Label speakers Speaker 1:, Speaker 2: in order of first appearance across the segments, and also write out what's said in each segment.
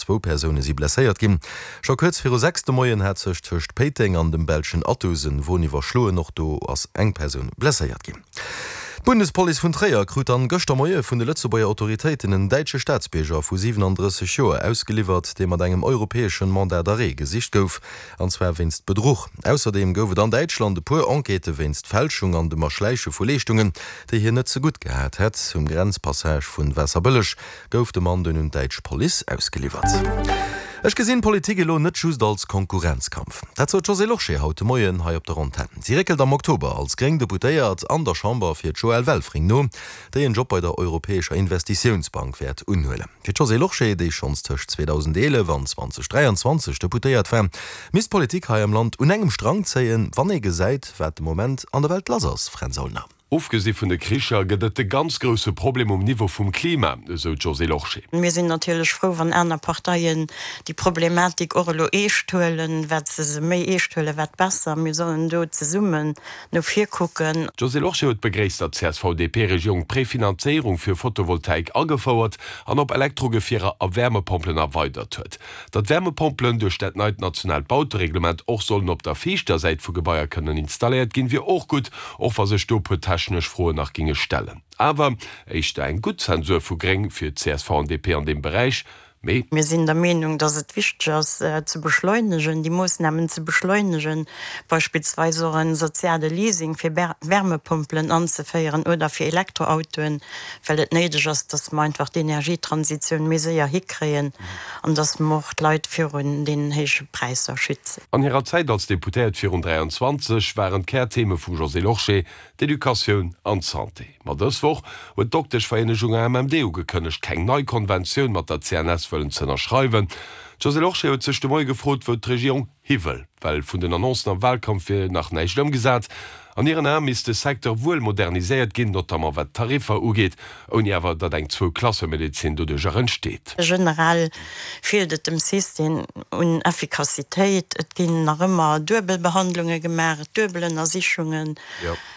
Speaker 1: Zwou Persoune si blesséiert ginn. Scho kuerz viru 6 de Moien hat sech tëscht Péiteng an dem belschen Athus en Won iwwerschloen. Och do ass eng Persoun blesséiert ginn. D'Bundespolice vun Tréier krut dann gëschter Moie vun de Lëtzebuerger Autoritéiten en däitsche Staatsbierger vu 37 Joer ausgeliwwert, dee mat engem europäeschen Mandat d'arrêt gesicht gouf, an zwar wéinst Bedruch. Ausserdeem gouf et an Däitschland e puer Enquêtë wéinst Fälschung an dem Erschläiche vu Leeschtungen, déi hien net ze gutt gehat hätt. Um Grenzpassage vun Waasserbëlleg gouf de Mann dunn un d'däitsch Police ausgeliwwert. Ech gesinn d'Politik elo net just als Konkurrenzkampf. Dat sot d'Josée Lorsché haut de Moien hei op der Antenn. Si réckelt am Oktober als gréng Deputéiert an der Chamber fir d'Joëlle Welfring no, déi en Job bei der Europäescher Investitiounsbank wäert unhuelen. Fir d'Josée Lorsché, déi schonns tëscht 2011 an 2023 Deputéiert war, misst d'Politik hei am Land un engem Strang zéien, wann ee gesäit, wat de Moment an der Welt lass ass, Fränz Aulner.
Speaker 2: Ofgesi vun de Kricher gëtt et de ganz grousse Problem um Niveau vum Klima, esou d'Josée Lorsché.
Speaker 3: Mir sinn natierlech frou, wann aner Parteien déi Problematik och elo eescht huelen. Wat se se méi eescht huelen, wat besser. Mir sollen do zesummen no vir kucken.
Speaker 2: D'Josée Lorsché huet begréisst, datt d'CSV-DP-Regierung d'Prefinanzéierung fir Photovoltaik agefouert an op Elektrogefierer a Wärmepompelen erweidert huet. Datt Wärmepompelen duerch dat neit nationaalt Bautereglement och sollen op der viischter Säit vu Gebaier kënnen installéiert ginn, wier och gutt, och wa sech do e puer technesch Froen nach géinge stellen. Awer éischter eng gutt Zensur vu Gréng fir csv an DP an deem Beräich, mee.
Speaker 3: Mir sinn der Meenung, dass et wichteg ass ze beschleunegen, déi Moossnamen ze beschleunegen, beispillsweis och e soziale Leasing fir Wärmepompelen anzeféieren oder fir Elektroautoen, well et néideg ass, dass mer einfach d'Energietransitioun méi séier hikréien an dass mer och d'Leit virun deenen héije Präisser schützen.
Speaker 2: An hirer Zäit als Deputéiert virun 23 waren d'Kärtheme vum Josée Lorsché d'Educatioun an d'Santé. Ma dës Woch huet d'Dokteschvereenegung AMMD ugekënnegt, keng nei Konventioun mat der CNS wëllen z'ënnerschreiwen. D'Josée Lorsché huet sech de Moie gefrot, wou d'Regierung hi wëll, well vun den Annoncen am Wahlkampf wier nach näischt ëmgesat. An hiren Ae misst de Secteur wuel moderniséiert ginn, notamment wat d'Tariffer ugeet, ouni awer datt eng Zwou-Klasse-Medezin doduercher entsteet.
Speaker 3: Generell feelt et dem System un Effikassitéit. Et ginn nach ëmmer Duebelbehandlunge gemaach, Duebelënnersichungen.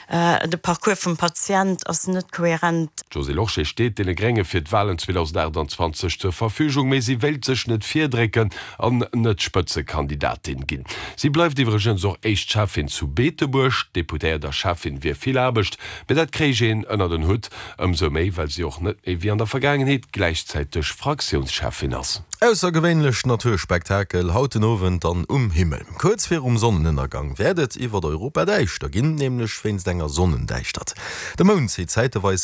Speaker 3: De Parcours vum Patient ass net koherent.
Speaker 2: D'Josée Lorsché steet deene Grénge fir d'Walen 2028 zur Verfügung, mee si wéilt sech net virdrécken an net Spëtzekandidatin ginn. Si bleift iwwregens och éischt Schäffin zu Beetebuerg. Deputéiert a Schäffin wier vill Aarbecht, mee dat kréich een ënnert en Hutt. Ëmsou méi, well si och net méi wéi an der Vergaangenheet gläichzäiteg Fraktiounscheffin ass.
Speaker 1: Aussergewéinlecht Naturspektakel haut den Owend dann um Himmel. Kuerz virum Sonnenënnergang wäert et iwwert Europa däischter ginn, nämlech wéinst enger Sonnendäischtert. De Mound zitt zäiteweis.